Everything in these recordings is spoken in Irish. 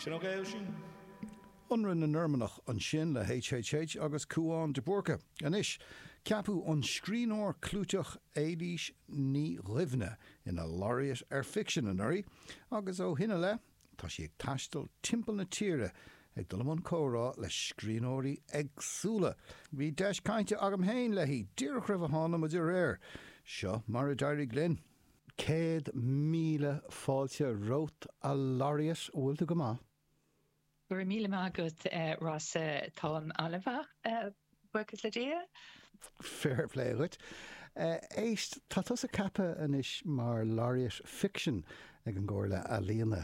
Sin ok, Oisín? Ionradh na Normannach ansin le HHH agus Cúán de Búrca. Anois, ceapadh an scríbhneoir clúiteach Éilís Ní Dhuibhne ina Laureate ar Ficsean anuraidh agus ó shin i leith tá sí ag taisteal timpeall na tíre ag dul i mbun comhrá le scríbhneoirí éagsúla. Bhí deis cainte agam féin léi díreach roimh a tháinig muid ar aer. Seo mar a d'éirigh linn. 100,000 fáilte romhat, a Laureate, an bhfuil tú go maith? Go raibh míle maith agat, Rossa. Táim an-mhaith, buíochas le Dia. Fair play dhuit. Éist, tá tusa ceaptha anois mar Laureate Ficsin ag an gComhairle Ealaíona.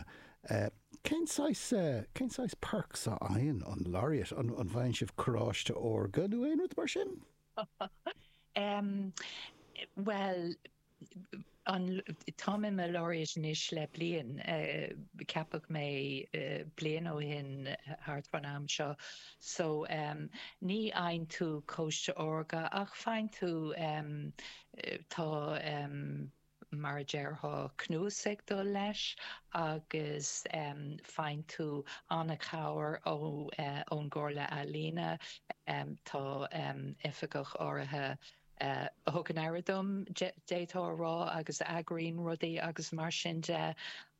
Cén saghas, cén saghas perks a fhaigheann an Laureate? An bhfaigheann sibh carráiste órga nó aon rud mar sin? Bhuel, an, táim i mo Laureate anois le bliain. Ceapadh mé bliain ó shin thart fán am seo. So, ní fhaigheann tú cóiste órga ach faigheann tú, tá, mar a déarfá, cnuasaigh ag dul leis agus faigheann tú an-chabhair ón gComhairle Ealaíona. Tá oifigeach áirithe a thugann aire dom, d'fhéadfá a rá, agus a eagraíonn rudaí agus mar sin de.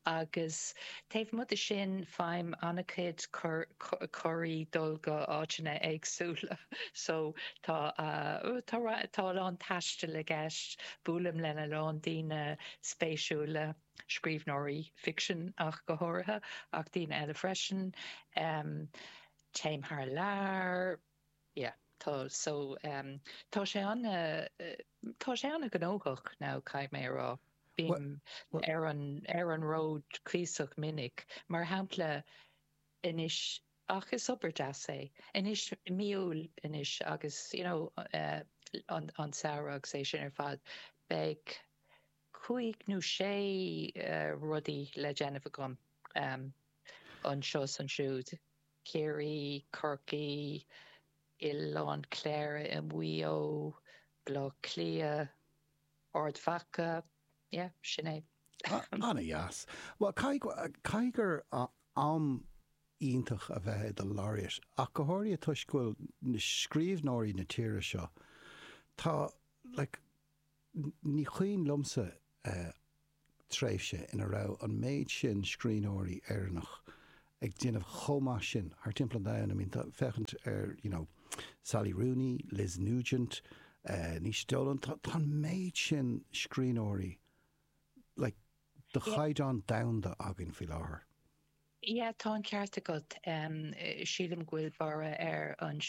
Agus taobh amuigh de sin, faighim an-chuid cuirí dul go áiteanna éagsúla. So tá, tá, tá a lán taistil i gceist, buailim lena lán daoine spéisiúla, scríbhneoirí ficsin ach go háirithe, ach daoine eile freisin. Téim thar lear. Yeah, tá, so tá sé ana, tá sé ana gnóthach now, caithfidh mé a rá. Bím ar an, ar an ród cuíosach minic. Mar shampla, anois, ach is obair deas é. Anois, mí Iúil anois agus, you know, an, an samhradh agus é sin ar fad, beidh cúig nó sé rudaí le déanamh agam anseo is ansiúd. Ciarraí, Corcaigh, Oileán Chléire i Maigh Eo, Baile Átha Cliath, Ard Mhacha, yeah, sin é. Ana-dheas. Bhuel, caithfidh, caithfidh gur am iontach a bheith i do Laureate, ach go háirithe toisc go bhfuil na scríbhneoirí na tíre seo, tá, like, ní cuimhin liomsa tréimhse ina raibh an méid sin scríbhneoirí Éireannach ag déanamh chomh maith sin thar timpeall an domhain. I mean, tá, féachaint ar, you know, Sally Rooney, Liz Nugent, Naoise Dolan, tá, tá an méid sin scríbhneoirí, like, de chaighdeán domhanda againn faoi láthair. Yeah, tá an ceart agat. Sílim go bhfuil borradh ar an,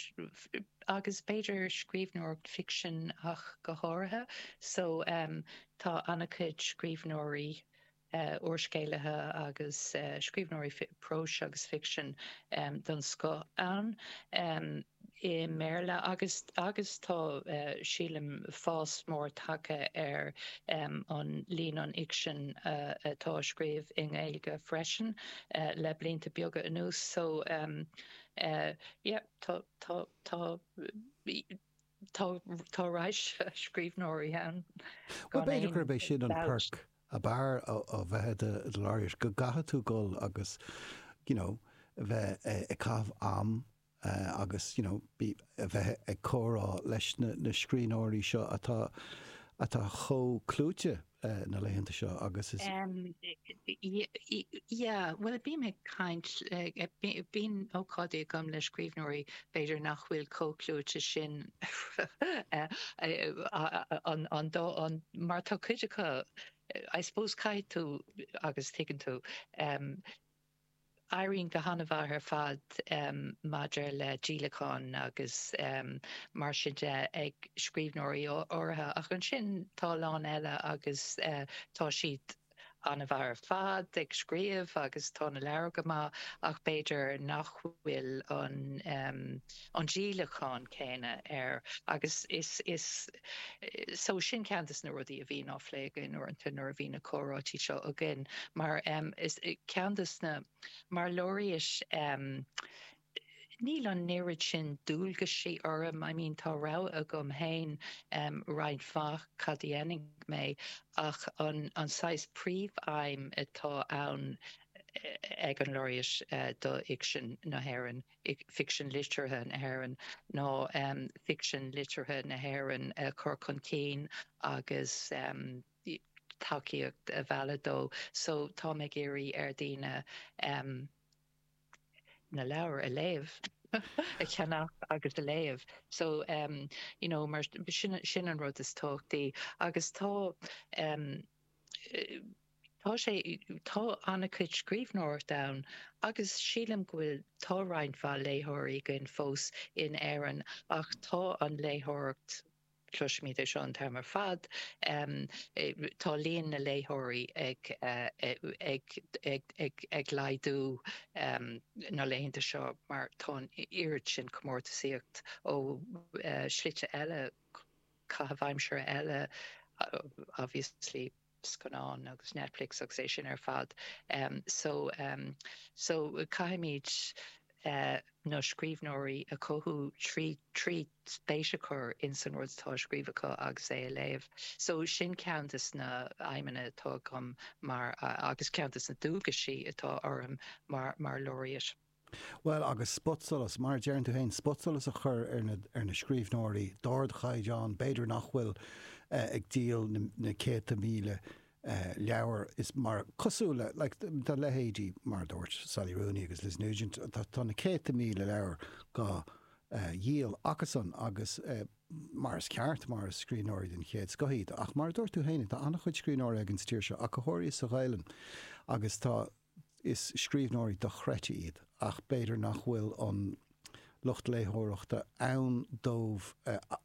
agus b'fhéidir scríbhneoireacht ficsin ach go háirithe. So, tá an-chuid scríbhneoirí, úrscéalaithe agus scríbhneoirí próis agus ficsin den scoth ann. i mBéarla agus agus tá, sílim, fás mór tagtha ar an líon an fhicsin atá á scríobh i nGaeilge freisin le blianta beaga anuas. So yeah, tá tá tá tá tá raidhse scríbhneoirí ann Bhuel, gan b'fhéidir aon gurb é sin an dabht. perk ab fhearr ó bheith i do Laureate, go gcaithfidh tú dul agus you know bheith ag caitheamh am agus you know a bheith ag comhrá leis na scríbhneoirí seo atá atá chomh clúite na laethanta seo agus is. Yeah, bhuel bím ag caint, bíonn ócáidí agam le scríbhneoirí b'fhéidir nach bhfuil chomh clúite sin an an dá an mar tá cuid acu I suppose caithfidh tú agus tuigeann tú Éiríonn go han-mhaith ar fad maidir le díolacháin agus mar sin de ag scríbhneoirí áirithe, ach ansin tá a lán eile agus tá siad an-mhaith ar fad ag scríobh agus tá na leabhair go maith ach b'fhéidir nach bhfuil an an díolachán céanna air agus is is So sin ceann de na rudaí a bhíonn á phlé againn uaireanta nuair a bhíonn na comhráití seo againn mar is ceann de na, mar Laureate níl an oiread sin dualgaisí orm, I mean tá rogha agam féin roinnt mhaith cad a dhéanfaidh mé ach an saghas príomhaidhm atá ann. ag an Laureate do fhicsean na hÉireann, ficsean liteartha na hÉireann, ná ficsean liteartha na hÉireann a chur chun cinn agus tacaíocht a mhealladh dó. So táim ag iarraidh ar daoine na leabhair a léamh, a cheannach agus a léamh. So you know mar sin sin an rud is tábhachtaí agus tá Tá sé, tá an-chuid scríbhneoireacht ann agus sílim go bhfuil, tá roinnt mhaith léitheoirí againn fós in Éirinn ach tá an léitheoireacht, cloisimid é seo an t-am ar fad, tá líon na léitheoirí ag, ag, ag, ag, ag laghdú na laethanta seo mar tá an oiread sin comórtasaíocht ó shlite eile, caitheamh aimsire eile obviously. scannáin agus Netflix agus é sin ar fad. So so caithfimid na scríbhneoirí a chothú trí trí spéis a chur ins an rud atá á scríobh acu agus é a léamh. So sin ceann des na aidhmeanna atá agam mar agus ceann des na dualgaisí atá orm mar mar Laureate. Bhuel, agus spotsolas, mar a deireann tú féin, spotsolas a chur ar na, ar na scríbhneoirí d'ardchaighdeán, b'fhéidir nach bhfuil ag díol na céadta míle leabhar, is mar, cosúil le, like, tá leithéidí, mar a dúirt Sally Rooney agus Liz Nugent, tá, tá na céadta míle leabhar dhá dhíol acusan agus mar is ceart, mar is scríbhneoirí den chéad scoth iad. Ach mar a dúirt tú féin, tá an-chuid scríbhneoirí againn sa tír seo, ach go háirithe sa Ghaelainn, agus tá, Is scríbhneoirí dochreidte iad, ach b'fhéidir nach bhfuil an lucht léitheoireachta ann dóibh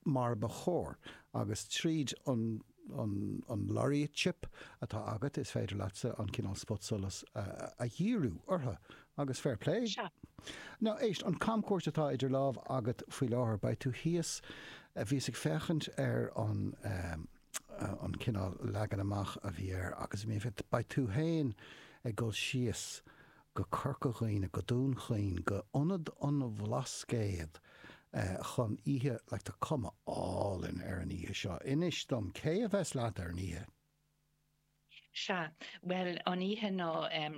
mar ba chóir. Agus tríd an an laureateship atá agat, is féidir leatsa an cineál spotsolas a dhíriú orthu. Agus fair play. Sea. Now, éist, an camchuairt atá idir lámh agat faoi láthair, beidh tú thíos, bhíos ag féachaint ar an. an cineál leagan amach a bhí air agus bhí, beidh tú féin ag dul síos go Corca Dhuibhne, go Dún Chaoin, go Ionad an Bhlascaoid chun oíche, like tá cuma álainn ar an oíche seo. Inis dom, cé a bheas leat ar an oíche? Sea, bhuel, an oíche ná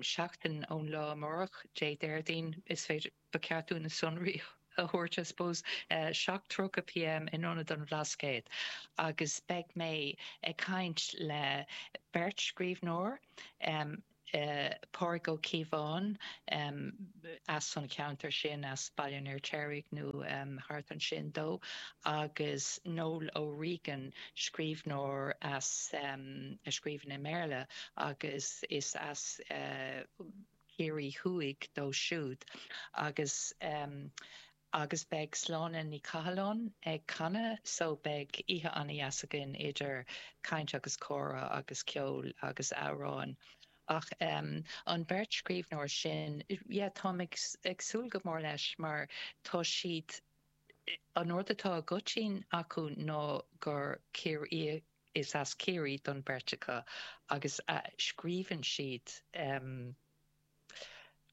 seachtain ón lá amárach, Dé Déardaoin, is féidir, ba cheart dúinn na sonraí a thabhairt, I suppose, 7:30 pm in Ionad an Bhlascaoid agus beidh mé ag caint le beirt scríbhneoir, Pádraig Ó Cíobháin as an cheantar sin, as Baile an Fheirtéaraigh nó thart ansin dó, agus Noel O'Regan, scríbhneoir as, a scríobhann i mBéarla agus is as Ciarraí Thuaidh dó siúd agus agus beidh Sláine Ní Chathalláin ag canadh so beidh oíche an-dheas againn idir caint agus comhrá agus ceol agus amhráin. Ach an bheirt scríbhneoir sin, yeah, táim ag ag súil go mór leis mar tá siad, an rud atá i gcoitinn acu ná gur Ciarraíoch, Is as Ciarraí don bheirt acu agus scríobhann siad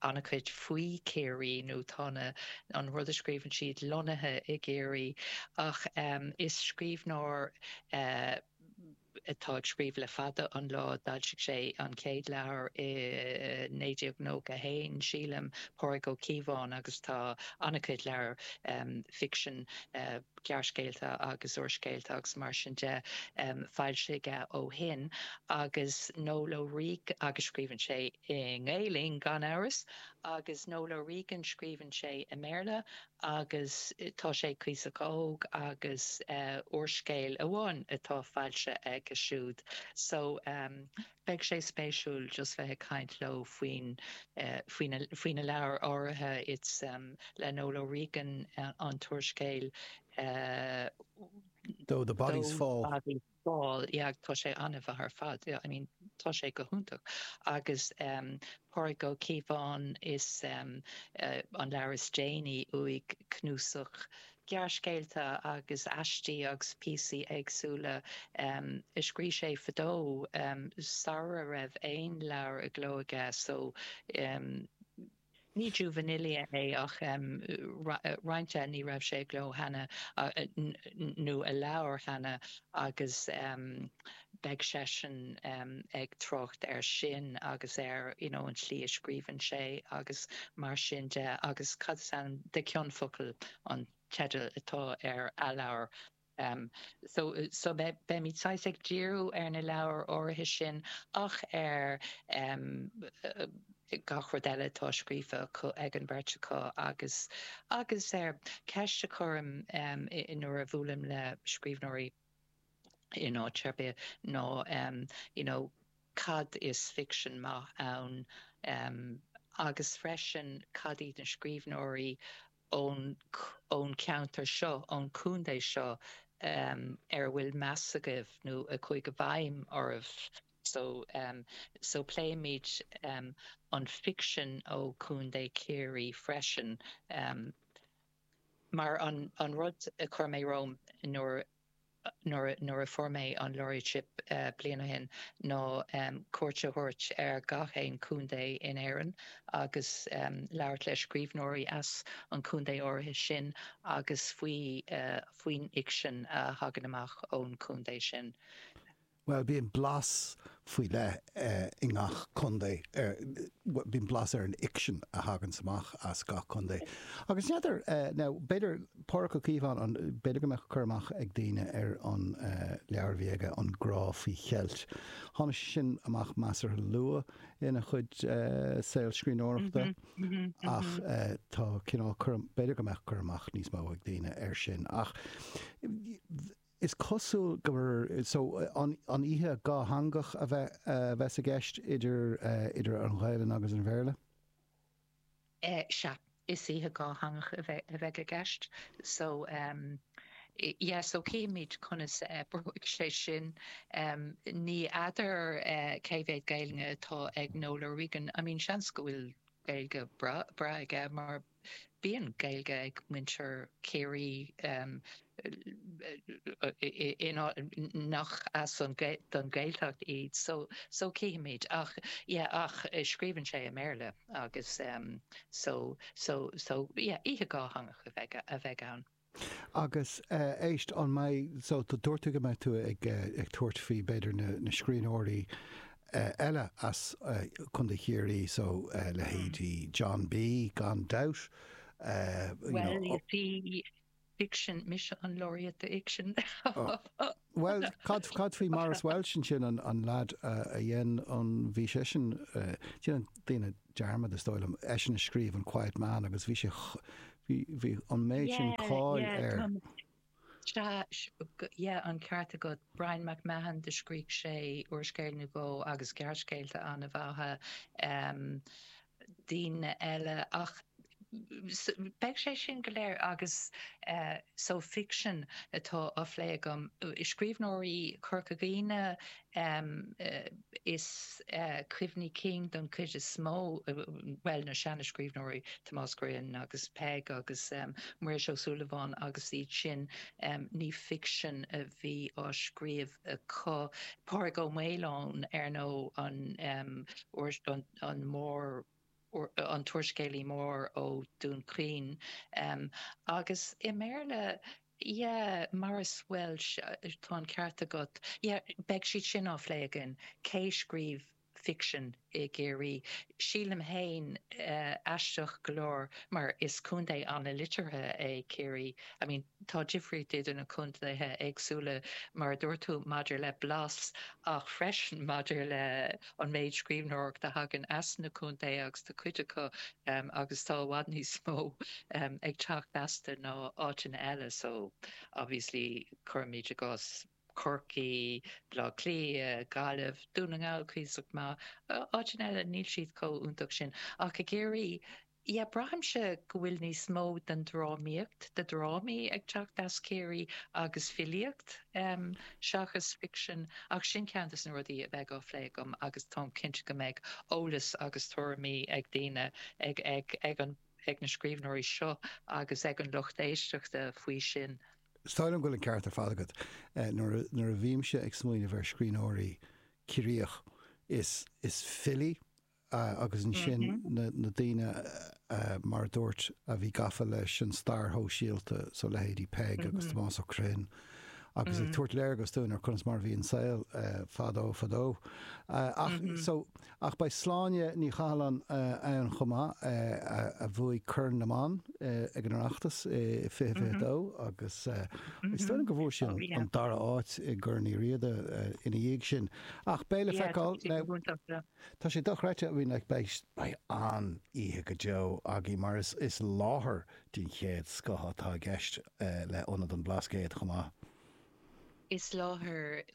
an-chuid faoi Chiarraí nó tá na, an rud a scríobhann siad lonnaithe i gCiarraí. Ach is scríbhneoir atá ag scríobh le fada an lá, d'fhoilsigh sé an chéad leabhar i 1991, sílim, Pádraig Ó Cíobháin agus tá an-chuid leabhar ficsin, gearrscéalta agus úrscéalta agus mar sin de foilsithe aige ó shin agus Noel O'Regan agus scríobhann sé i nGaelainn gan amhras agus Noel O'Regan scríobhann sé i mBéarla agus tá sé cuíosach óg agus úrscéal amháin atá foilsithe aige siúd so beidh sé spéisiúil just bheith ag caint leo faoin faoi na faoi na leabhair áirithe it's le Noel O'Regan an t-úrscéal Though the Bodies Fall. Bodies Fall yeah tá sé an-mhaith ar fad yeah I mean tá sé go hiontach agus Pádraig Ó Cíobháin is an leabhar is déanaí uaidh cnuasach gearrscéalta agus aistí agus píosaí éagsúla a scríobh sé fadó sara raibh aon leabhar i gcló aige so. Ní juvenilia é ach roinnt de ní raibh sé i gcló cheana nó i leabhar cheana agus beidh seisean ag trácht air sin agus ar you know an tslí a scríobhann sé agus mar sin de agus cad is ainm de Cion Focal an teideal atá ar a leabhar. So so beimid saghas ag díriú ar na leabhair áirithe sin ach ar gach rud eile atá scríofa acu ag an bheirt acu agus agus ar ceist a chuirim nuair a bhuailim le scríbhneoirí in áit ar bith ná you know cad is ficsean maith ann agus freisin cad iad na scríbhneoirí ón ón cheantar seo, ón chontae seo ar a bhfuil meas agaibh nó a chuaigh i bhfeidhm oraibh. So so pléimid an ficsean ó Chontae Chiarraí freisin mar an an rud a chuir mé romham nuair nuair a fuair mé an laureateship bliain ó shin ná cuairt a thabhairt ar gach aon chontae in Éirinn agus labhairt le scríbhneoirí as an chontae áirithe sin agus faoi faoin fhicsean a thagann amach ón chontae sin. Bhuel, bíonn blas faoi leith i ngach contae, bíonn blas ar an fhicsean a thaganns amach as gach contae. Agus n'fheadar, now, b'fhéidir, Pádraig Ó Cíobháin, b'fhéidir go mbeadh cur amach ag daoine ar an leabhar a bhí aige, An Grá Faoi Cheilt. Tháinig sé sin amach measartha luath ina chuid saol scríbhneoireachta ach tá cineál cur, b'fhéidir go mbeadh cur amach níos mó ag daoine air sin. Ach. Is cosúil gur, so, an oíche dhátheangach a bheith, a bheas i gceist idir, idir an Ghaelainn agus an Bhéarla? Sea, is oíche dhátheangach a bheidh, a bheidh i gceist. So, yeah, so cífimid conas a oibreoidh sé sin. Ní fheadar cé mhéad Gaelainne atá ag Noel O'Regan. I mean, seans go bhfuil Gaeilge breá, breá aige mar Bíonn Gaeilge ag muintir Chiarraí nach as an don Ghaeltacht iad so so cífimid ach yeah ach scríobhann sé i mBéarla agus so so so yeah oíche dhátheangach a bheidh a bheidh ann. Agus éist, an mbeidh, so dúirt tú go mbeidh tú ag tabhairt faoi b'fhéidir na scríbhneoirí eile as Contae Chiarraí, so leithéidí John B. gan dabht, you know. Well, you see, fiction, mise an laureate do fhicsean. Bhuel, cad, cad faoi Maurice Walsh ansin, an, an leaid a dhein an, bhí seisean, déanann daoine dearmad is dóigh liom, eisean a scríobh an Quiet Man agus bhí sé, bhí, bhí an méid sin cáil air. Sea, yeah, an ceart agat. Bryan MacMahon, do scrígh sé úrscéal nó dhó agus gearrscéalta an-mhaithe. Daoine eile ach beidh sé sin go léir agus so ficsean atá á phlé agam. Scríbhneoirí Chorca Dhuibhne is cuimhní cinn don chuid is mó, bhuel na seana-scríbhneoirí, Tomás Grinn agus Peig agus Muiris Ó Súilleabháin agus iad sin, ní ficsean a bhí á scríobh acu. Pádraig Ó Maoileoin ar ndóigh an an mór an t-úrscéalaí mór ó Dún Chaoin. Agus i mBéarla, yeah, Maurice Walsh, tá an ceart agat, yeah, beidh siad sin á phlé againn, cé scríobh ficsean i gCiarraí? Sílim féin, aisteach go leor, mar is contae an-liteartha é Ciarraí, I mean, tá difríocht idir na contaetha éagsúla, mar a dúirt tú, maidir le blas ach freisin maidir le an méid scríbhneoireacht a thagann as na contaetha agus tá cuid acu agus tá i bhfad níos mó ag teacht astu ná áiteanna eile so obviously cuirimid i gcás Corcaigh, Baile Átha Cliath, Gaillimh, Dún na nGall cuíosach maith, áiteanna eile níl siad chomh iontach sin ach i gCiarraí Yeah, braithimse go bhfuil níos mó den drámaíocht, de dhrámaí ag teacht as Ciarraí agus filíocht seachas ficsean, ach sin ceann de na rudaí a bheidh á phlé agam agus táim cinnte go mbeidh eolas agus tuairimí ag daoine, ag, ag, ag an, ag na scríbhneoirí seo agus ag an lucht éisteachta faoi sin. Is dóigh liom go bhfuil an ceart ar fad agat. Nuair a, nuair a bhímse ag smaoineamh ar scríbhneoirí Ciarraíoch, is, is filí agus ansin na daoine mar a dúirt, a bhí gafa leis an stair shóisialta, so leithéidí Peig agus Tomás Ó Criomhthain, agus ag tabhairt léargas dúinn ar conas mar a bhí an saol fadó fadó. Ach, so, ach beidh Sláine Ní Chathalláin ann chomh maith, a bhuaigh Corn na mBan ag an Oireachtas i 2022 agus is dóigh liom go bhfuair sí an dara háit i gCorn Uí Riada ina dhiaidh sin. Ach beidh le feiceáil. Tá sé dochreidte, I mean like beidh beidh an-oíche go deo agaibh mar is is láthair den chéad scoth atá i gceist le Ionad an Bhlascaoid chomh maith. Is láthair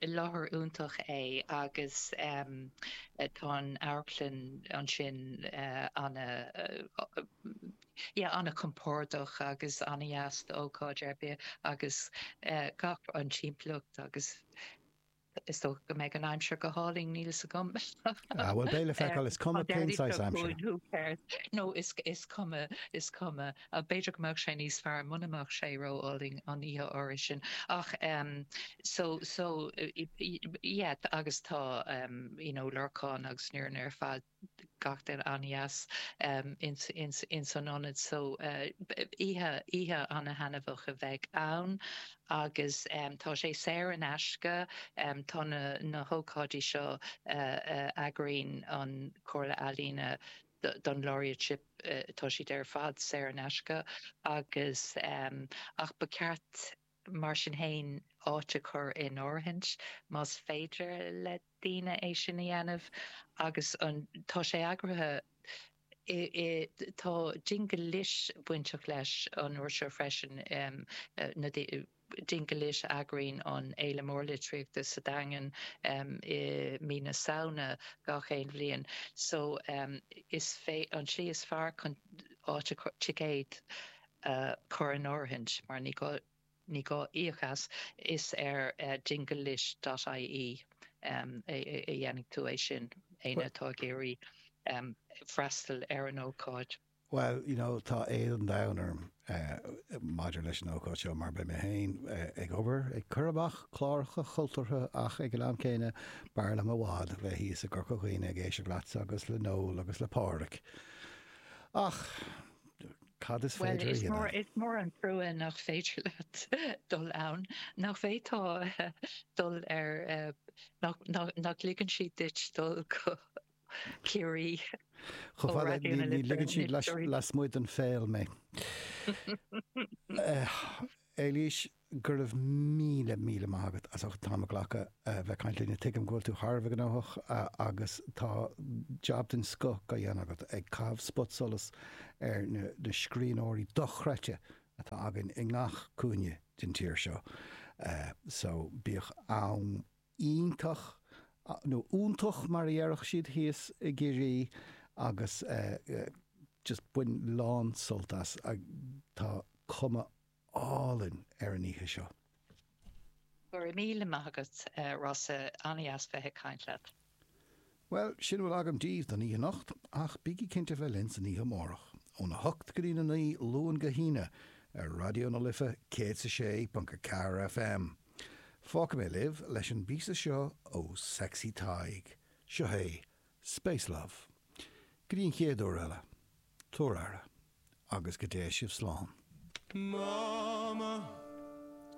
láthair iontach é agus tá an amharclann ansin ana yeah ana-chompordach agus ana-dheas d'ócáid ar bith agus gach an timpeallacht agus Is dócha go mbeidh an aimsir go hálainn, níl fhios agam. Ah, bhuel, beidh le feiceáil, is cuma cén saghas aimsire. No, is is cuma, is cuma. B'fhéidir go mbeadh sé níos fearr muna mbeadh sé ró-álainn an oíche áirithe sin. Ach, so, so, yeah, agus tá, you know, Lorcán agus Muireann ar fad, gach duine an-dheas ins an ionad so oíche, oíche ana-thaitneamhach a bheidh ann agus tá sé saor in aisce. Tá na, na hócáidí seo a eagraíonn an Chomhairle Ealaíona don Laureateship, tá siad ar fad saor in aisce agus ach ba cheart mar sin féin áit a chur in áirithint más féidir le daoine é sin a dhéanamh agus an tá sé eagraithe i i tá Dingle Lit bainteach leis an uair seo freisin na Dingle Lit a eagraíonn an Fhéile Mór Litríochta sa Daingean i mí na Samhna gach aon bhliain so is fé an tslí is fearr chun áit a chur ticéad a chur in áirithint, mar ní gá ní gá íoc as, is ar dinglelit dot ie a dhéanfaidh tú é sin, éinne atá ag iarraidh freastal ar an ócáid. Bhuel, you know, tá éad an domhain orm maidir leis an ócáid seo mar beidh mé féin ag obair, ag cur amach cláracha cultúrtha ach ag an am céanna b'fhearr liom i bhfad bheith thíos i gCorca Dhuibhne ag éisteacht leatsa agus le Noel agus le Pádraic. Ach. Cad is féidir a dhéanamh? Bhuel, is mór an trua nach féidir leat dul ann. Nach bhféadfá dul ar, nach ligeann siad duit dul go Ciarraí ó Raidió na Life? Ní ligeann siad lasmuigh den phéil mé. Éilís, Go raibh míle, míle maith agat as ucht an t-am a ghlacadh a bheith ag caint linn. Tuigim go bhfuil tú thar a bheith gnóthach agus tá jab den scoth á dhéanamh agat ag caitheamh spotsolas ar na scríbhneoirí dochreidte atá againn i ngach cúinne den tír seo. So, bíodh am iontach, nó iontach mar a déarfadh siad thíos i gCiarraí agus just bain lán sult as. Tá cuma álainn ar an oíche seo. Go raibh míle maith agat, Rossa. An-dheas bheith ag caint leat. Bhuel, sin a bhfuil agam daoibh don oíche anocht, ach bígí cinnte bheith linn san oíche amárach, óna hocht go dtína naoi, Luan go hAoine, ar Raidió na Life 106.4 FM. Fágfaidh mé libh leis an bpíosa seo ó Sexy Tadhg. Seo é Space Love. Go dtí an chéad uair eile, tabhair aire, agus go dté sibh slán. Mama.